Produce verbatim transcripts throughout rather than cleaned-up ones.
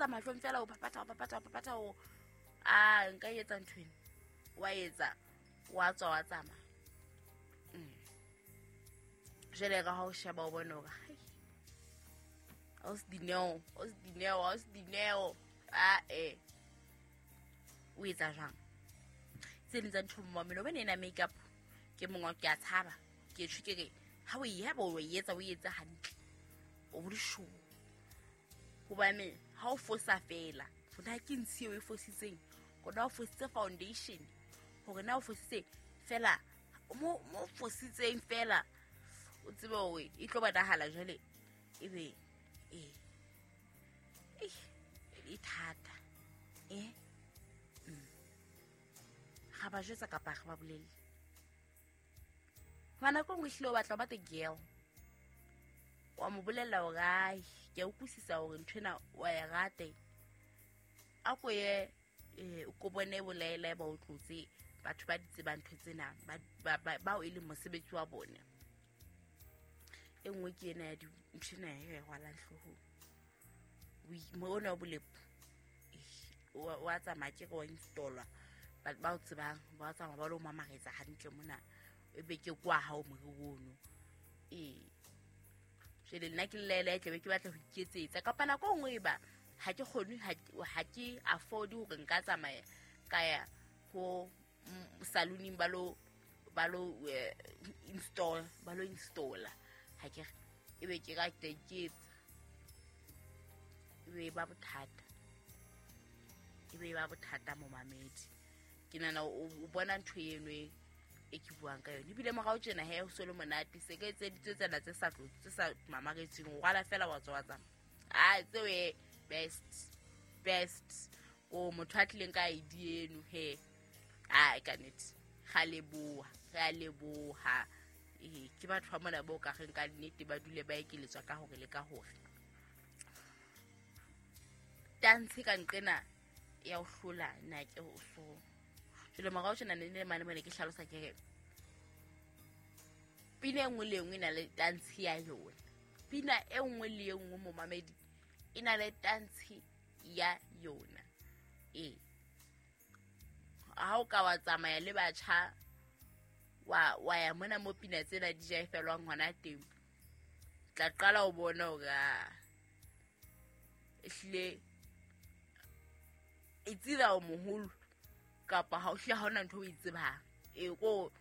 etsa mahlong fela o phaphatha o phaphatha o phaphatha o a nka etsa ntho ena wa etsa wa tswa wa tsamaya. Mm. Jwale ka ha o sheba o bone hore hai o se Dineo o se Dineo o se Dineo a e o etsa jwang tse ding tsa ntho mmamelo bene ena makeup ke mongwe ke a tshaba ke tjho ke re ha o e haba o e etsa o etsa hantle o bo sure hobane ha o fosa fela fona ke ntshi o e fositseng kona o fositse foundation hore na o fositse fela mo mo fositseng fela o tsebe hore e tlo bonahala jwale ebe eh eh e thata eh ga ba jwetsa kapa ga ba bolelle ngwana ko nngwe hlile o batla o ba the girl wa mo bolella hore ai ke a utlwisisa hore nthwena wa e rate a ko ye o ko bone bolaela ba o tlotse batho ba di tsebang ntho tsena ba bao e leng mosebetsi wa bone. E nngwe ke ena ya nthwena ya rwalang hloohong mo ona o bolepo wa tsamaya ke re wa installwa ba o tsebang ba tsamaya ba lo mamaretsa hantle mona e be ke kwa hao moriri ono ee jwale nna ke llela e tlabe ke batla ho iketsetsa kapa nako e nngwe e ba ha ke kgone ha ke afford hore nka tsamaya ka ya ho saloning ba lo ba lo install ba lo installa ha ke e be ke ka iketsa e be ba bothata e be ba bothata momamedi ke nana o bona ntho eno e ke buang ka yone ebile morao tjena he o so le monate se ka etseditswe tsena tse sa tse sa mamaretseng o rwala fela wa tswa wa tsamaya a tseo e best best o motho a tlileng ka I D eno he a ka nnete ga leboha re a leboha ee ke batho ba mona bo ka reng ka nnete ba dule ba ekeletswa ka hore le ka hore tantshe ka nqena ya o hlola nna ke o so jwale morao tjena ne le mane mane ke hlalosa ke re pina e nngwe le e nngwe e na le tantshe ya yona pina e nngwe le e nngwe momamedi e na le tantshe ya yona ee ha o ka wa tsamaya le batjha wa wa ya mona mo pina tsena di jaefelwang hona teng tla qala o bona hore ehlile e tsira o moholo kapa ha o hle ha ona ntho o e tsebang e ko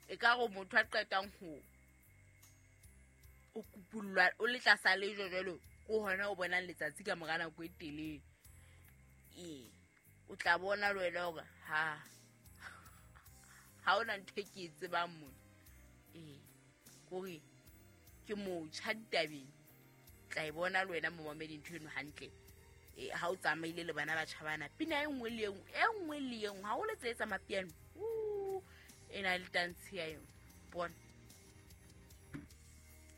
e ka re motho a qetang ho o kupullwa o le tlasa lejwe jwalo ko hona o bonang letsatsi ka mora nako e telele ee o tla bona le wena hore ha ha ona ntho e ke e tsebang mona ee kore ke motjha ditabeng tla e bona le wena momamedi ntho eno hantle e ha o tsamaile le bana ba tjhabana pina e nngwe le e nngwe e nngwe le e nngwe ha o le tse tsa mapiano e na le tantshe ya yona bona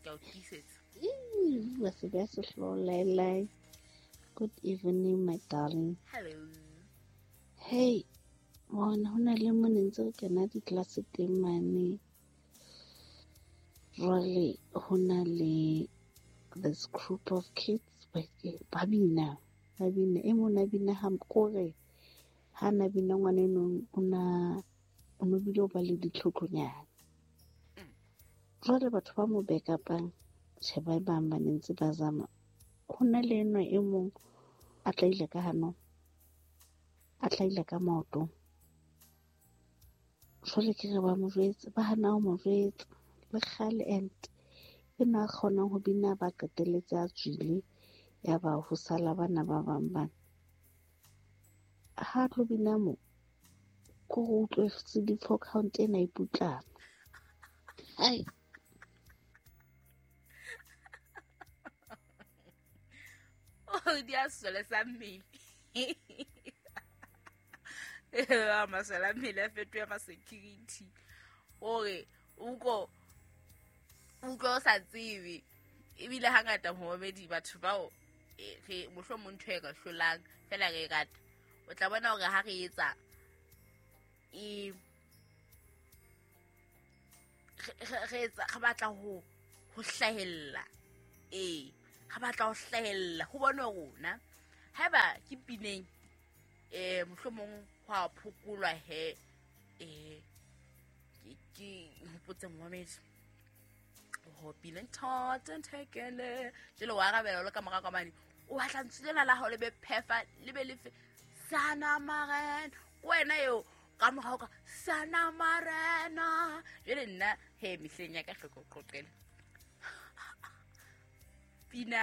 ke a o tiisetsa. Good evening, my darling. Hello. Hey, bona ho na le mo ne ntse re kena di-class teng mane. Jwale ho na le this group of kids ba bina ba bina e mong a bina ha kore ha na bina ngwana eno o na o no bile o ba le ditlhotlonyana. Jwale batho ba mo backupang tjhe ba bang ba ne ntse ba zama ho na le enwa e mong a tlaile ka hanong a tlaile ka maoto jwale ke re ba mo jwetse ba hana ho mo jwetsa le kgale and enwa a kgonang ho bina ba qetelletse a tswile ya ba ho sala bana ba bang bana ha tlo bina mo ko go utlwe C D four count ena e putlama ai oh di a sole sa mmele masole a mmele a fetoha ma security hore o ko utlwa o sa tsebe ebile hangata momamedi batho bao re mohlomong ntho e ka hlolang fela re e rata o tla bona hore ha re etsa e re etsa re batla ho ho hlahella ee re batla ho hlahella ho bona rona haeba Ke pineng eh mohlomong ho a phokolwa he eh ke ke hopotse momedi ho pina thata nthekele jelo wa arabela le ka mora ka mane o batla ntswela la hao le be phefa le be le sana marena wena yo ka mora ka sana marena jele nna he mehleng ya ka hloko qoqela pina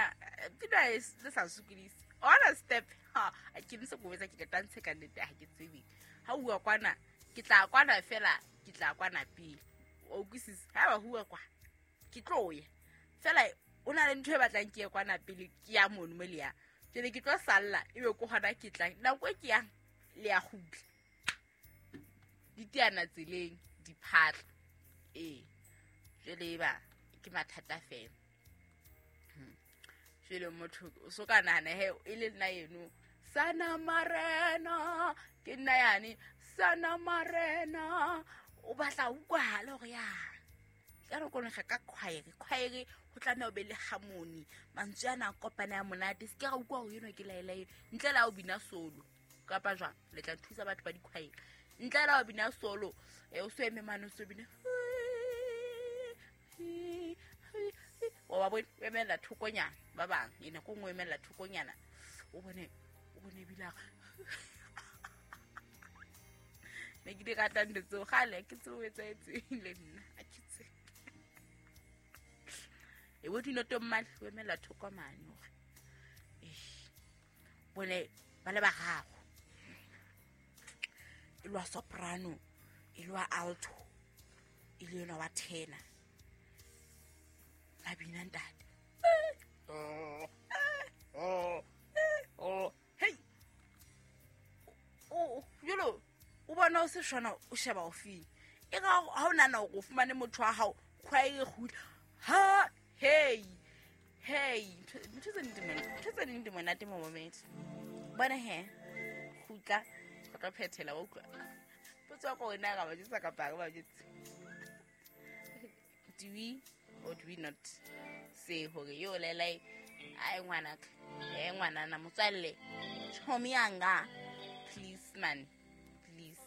pina is le sa sukulisi ona step ha a ke ntse go etsa ke ka tantshe ka nnete ha ke tsebe ha uwa kwana ke tla kwana fela ke tla kwana pele o kwisisa ha ba huwa kwa ke tlo ya fela o na le ntho e batlang ke ye kwana pele ke ya mono mo le ya jele ke tlo salla ebe ko hona ke tlang nako e ke yang le ya kgutla ditiana tseleng diphatla ee jele ba ke mathata fela jele motho o so ka nahana he e le nna eno sana marena ke nna yane sana marena o batla utlwahala hore ya ka re kone ga ka choir choir ho tlameha o be le harmony mantswe ana a kopana ya monate se ke ra utlwa hore eno ke laela eno ntle la o bina solo kapa jwang le tla thusa batho ba di-choir ntle la o bina solo e o so eme mane o so bina wa bone o emela thokonyana ba bang e nako nngwe o emela thokonyana o bone o bone ebile ne ke di rata ntho tseo kgale ke tseo etsahetseng le nna a ke tsebe e bo dinoto mmale o emela thoko mane hore bone ba le bararo e lwa soprano e lwa alto e le yona wa tenor ba bina ntate oh oh oh hey oh jolo o bona o se shona o sheba o feng e ga ha o nana go fumane motho wa hao khwae gutla ha hey hey ntho tse di monate ntho tse di monate mo moment bona he gutla go tla phethela wa utlwa potso go wena ga ba jetsa ka ba jetsa do we or do we not say hore yo lelai ai ngwana ka eh ngwana na motswalle chomi yanga please man.